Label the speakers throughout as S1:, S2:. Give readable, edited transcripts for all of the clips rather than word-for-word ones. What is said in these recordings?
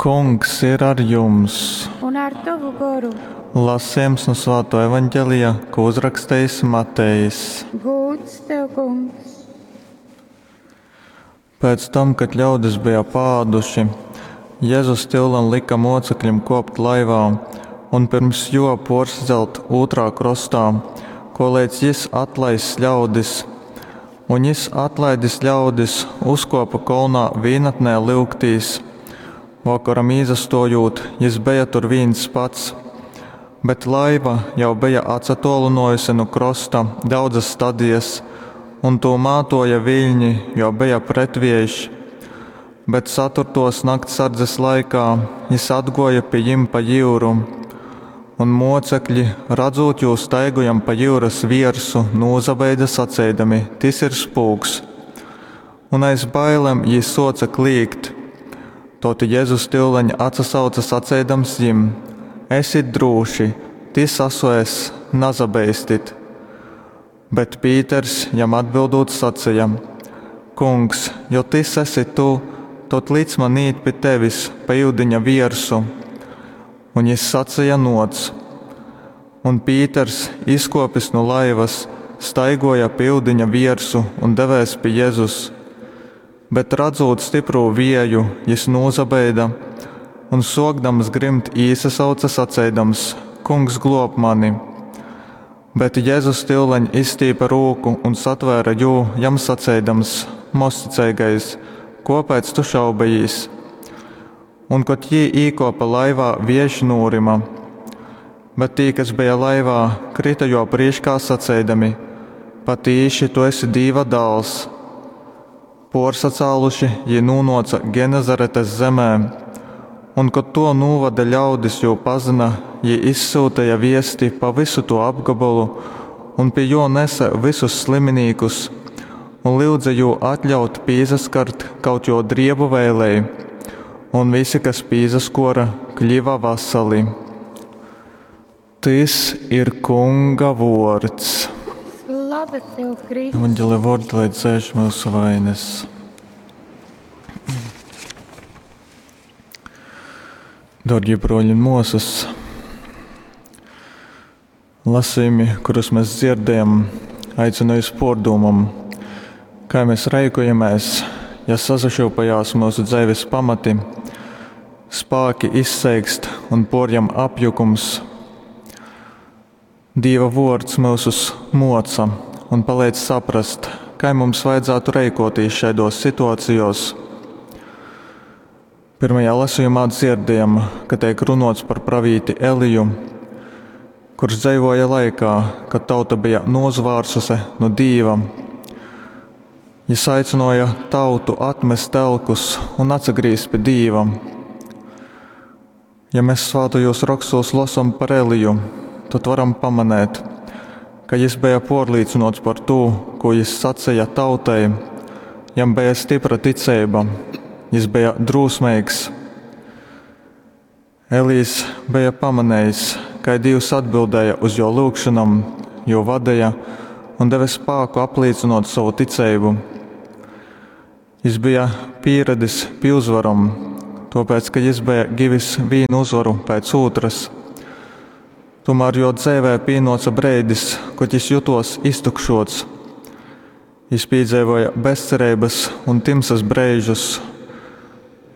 S1: Kungs ir ar jums!
S2: Un ar tovu goru.
S1: Lasījums no Svāto evaņģelija, ko uzrakstījis Matejs.
S2: Gūds tev, kungs!
S1: Pēc tam, kad ļaudis bija pāduši, Jēzus tyulen lika mocekļiem kopt laivā un pirms jo porsacelt otrā krostā, ko līdz jis atlaiss ļaudis. Un jis atlaidis ļaudis, uzkopa kolnā vīnatnē lyugtīs. Vokoram īzastojūt, jis beja tur vīns pats. Bet laiva jau beja atsatolynojuse nu krosta daudzas stadijas, un tū mātoja viļņi, jo beja pretviejš. Bet ceturtos naktsardzes laikā jis atgoja pie jim pa jūru, un mocekļi, redzot jū staigojam pa jūras viersu, nūzabeida saceidami: Tis ir spūks. Un aiz bailēm jī soca klīgt. Toti Jēzus tyuleņ atsasauca saceidams jim: Esit drūši, tis asu es, nazabeistit. Bet Pīters jam atbildūt sacīja: Kungs, jo tis esi tu, tad lic man īt pie tevis pa iudiņa viersu. Un jis sacīja: Noc. Un Pīters, izkopis no laivas, staigoja pa iudiņa viersu un devēs pie Jēzus. Bet redzot stiprū vieju, jis nūzabeida un sokdams grimt īsasauca saceidams: Kungs, glob mani! Bet Jēzus tyuleņ izstīpa rūku un satvēra jū, jam saceidams: Mozticeigais, kopēc tu šaubejīs? Un, kad jī īkopa laivā, viejš nūrima. Bet tī, kas bija laivā, krita jo prīškā saceidami: Patīši tu esi Dīva dāls! Porsacāluši jī nūnoca Genezaretes zemē, un, kad to nūvada ļaudis jū pazina, jī izsūtīja viesti pa visu to apgabalu, un pie jo nesa visus sliminīkus, un lyudza jū atļaut pīzaskart kaut jo driebu vēlei, un visi, kas pīzaskora, kļiva vasali. Tys ir Kunga vords.
S2: Slava tev, Kristus!
S1: Evanģelia vordi, lai dzēš mūsu vainas. Dārgie broļi un māsas, lasījumi, kurus mēs dzirdējam, aicina uz pārdomām, kā mēs rēkojamies, ja sasašūpajās mūsu dzīves pamati, spāki izseikst un porjam apjukums. Dieva vārds mūsus moca un palīdz saprast, kā mums vajadzētu rēkoties šādos situācijos. Pirmajā lasījumā dzirdējam, ka tiek runots par pravīti Eliju, kurš dzīvoja laikā, kad tauta bija nozvārsuse no Dīva. Jis aicināja tautu atmest telkus un atsagrīzt pie Dīva. Ja mēs svātajos rakstos lasam par Eliju, tad varam pamanēt, ka jis bija porlīcinots par to, ko jis sacīja tautai. Jam bija stipra ticība, jis bija drūsmīgs. Elīs bija pamanējis, kā Dievs atbildēja uz jo lūgšanām, jo vadīja un deva spēku apliecinot savu ticību. Jis bija pieradis pie uzvaram, tāpēc, ka jis bija givis vienu uzvaru pēc otras. Tomēr jo dzīvē pienāca breidis, kad jis jutos iztukšots. Jis piedzīvoja bezcerības un timsas breižus,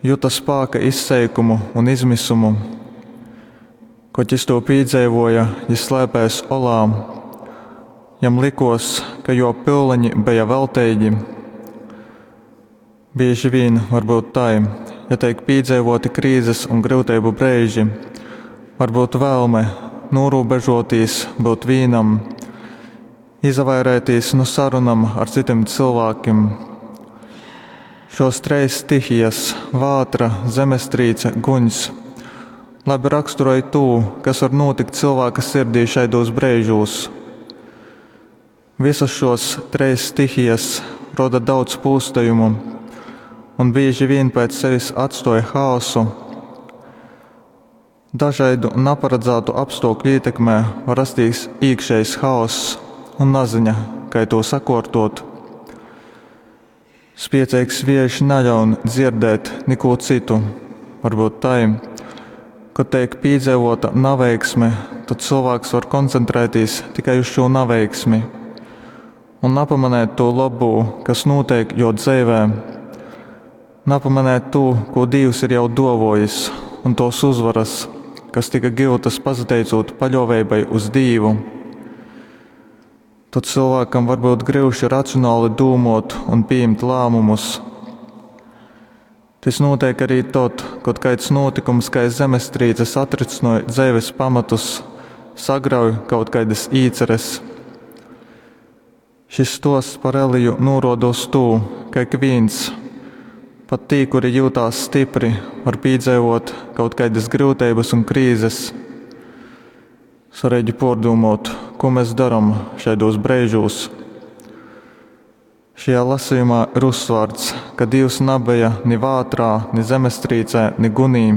S1: juta spēka izseikumu un izmisumu. Kad jis to piedzīvoja, jis slēpēs olā. Jam likos, ka jo pilleņi bija velteigi. Bieži vien varbūt tā, ja tiek piedzīvoti krīzes un grūtību breiži, varbūt vēlme norūbežotīs, būt vīnam, izvairēties no sarunam ar citiem cilvēkiem. Šos treis stihijas - vātra, zemestrīce, guņs - labi raksturoja to, kas var notikt cilvēka sirdī šaidos breižos. Visas šos treis stihijas roda daudz pūstījumu un bieži vien pēc sevis atstoja haosu. Dažādu neparedzētu apstākļu ietekmē var rasties iekšējs haoss un naziņa, kā to sakārtot. Spiecīgs vējš neļaun dzirdēt neko citu, Varbyut tai, kod teik pīdzeivōta naveiksme, tod cylvāks var koncentrētīs tikai uz šū naveiksmi un napamanēt tū lobū, kas nūteik jō dzeivē. Napamanēt tū, kū Dīvs ir jau dōvōjis, un tōs uzvaras, kas tika gyutas pasateicūt paļōveibai uz Dīvu. Tod cylvākam var byut gryuši racionali dūmōt un pījimt lāmumus. Tys nūteik arī tod, kod kaids nūtykums kai zemestrīce satricynoj dzeives pamatus, sagrauj kaut kaidas īceres. Šis stosts par Eliju nūruoda uz tū, ka ikvīns, pat tī, kuri jūtās stipri, var pīdzeivot kaut kaidas gryuteibas un krīzes. Svarīgi puordūmuot, ko mēs darom šaidos breižūs. Šajā lasījumā ir uzsvārts, ka Dievs nabeja ni vātrā, ni zemestrīcē, ni gunī.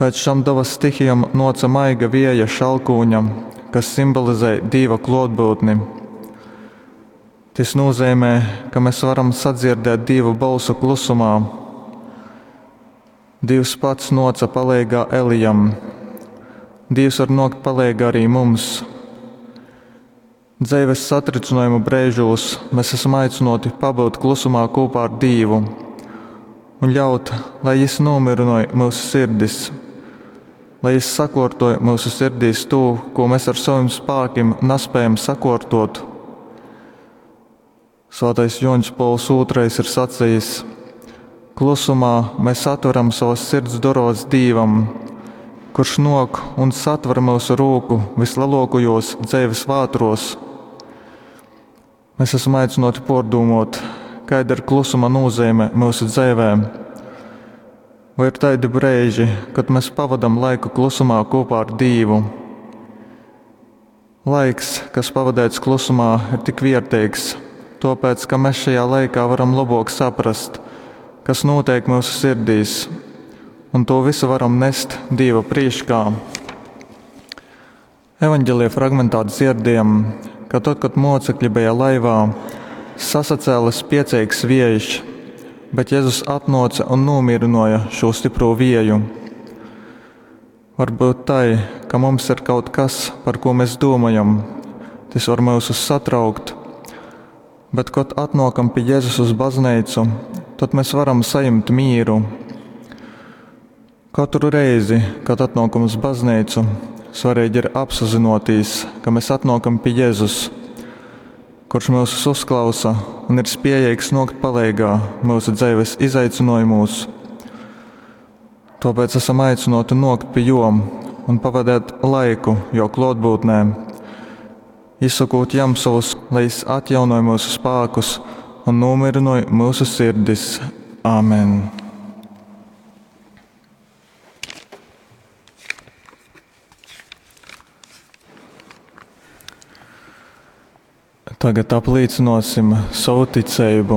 S1: Pēc šam dabas stihijam noca maiga vieja šalkūņa, kas simbolizē Dīva klōtbyutni. Tys nozīmē, ka mēs varam sadzirdēt Dīva bolsu klusumā. Dievs pats noca paleigā Elijam. Dievs var nokt paleigā arī mums. Dzeives satricinājuma breižūs mēs esam aicināti pabūt klusumā kopā ar Dievu un ļaut, lai Jis nomierināj mūsu sirdis, lai Jis sakārtoj mūsu sirdīs to, ko mēs ar saviem spēkiem nespējam sakārtot. Svētais Joņs Pols II ir sacījis: Klusumā mēs atveram savas sirds durovas Dievam, kurš nok un satver mūsu rūku vislielākajos dzīves vātros. Mēs esam aicināti pārdomāt, kāda ir klusuma nozīme mūsu dzīvē. Vai ir tādi brīži, kad mēs pavadām laiku klusumā kopā ar Dievu? Laiks, kas pavadīts klusumā, ir tik vērtīgs, tāpēc, ka mēs šajā laikā varam labāk saprast, kas notiek mūsu sirdīs, un to visu varam nest Dieva priekšā. Evanģelija fragmentā dzirdējam, ka tad, kad mocekļi bija laivā, sasacēla spiecīgs vējš, bet Jēzus atnāca un nomierināja šo stipro vieju. Varbūt tai, ka mums ir kaut kas, par ko mēs domājam, tas var mūs satraukt, bet, kad atnākam pie Jēzus uz baznīcu, tad mēs varam saņemt mieru. Katru reizi, kad atnākam uz baznīcu, svarīgi ir apzināties, ka mēs atnākam pie Jēzus, kurš mūs uzklausa un ir spējīgs nokt palīgā mūsu dzīves izaicinājumos. Tāpēc esam aicināti nokt pie jom un pavadīt laiku jo klātbūtnē, izsakot jam savus, lai jis atjaunoja mūsu spēkus un nomierināja mūsu sirdis. Āmen! Tagad apliecināsim savu ticību.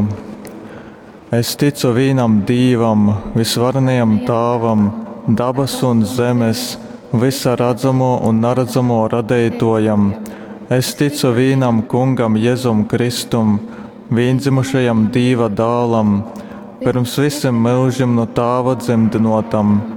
S1: Es ticu vienam Dievam, visvarenajam Tāvam, dabas un zemes, visa redzamo un neredzamo radītojam. Es ticu vienam Kungam Jēzum Kristum, viendzimušajam Dieva dēlam, pirms visiem mūžiem no Tāva dzemdinotam.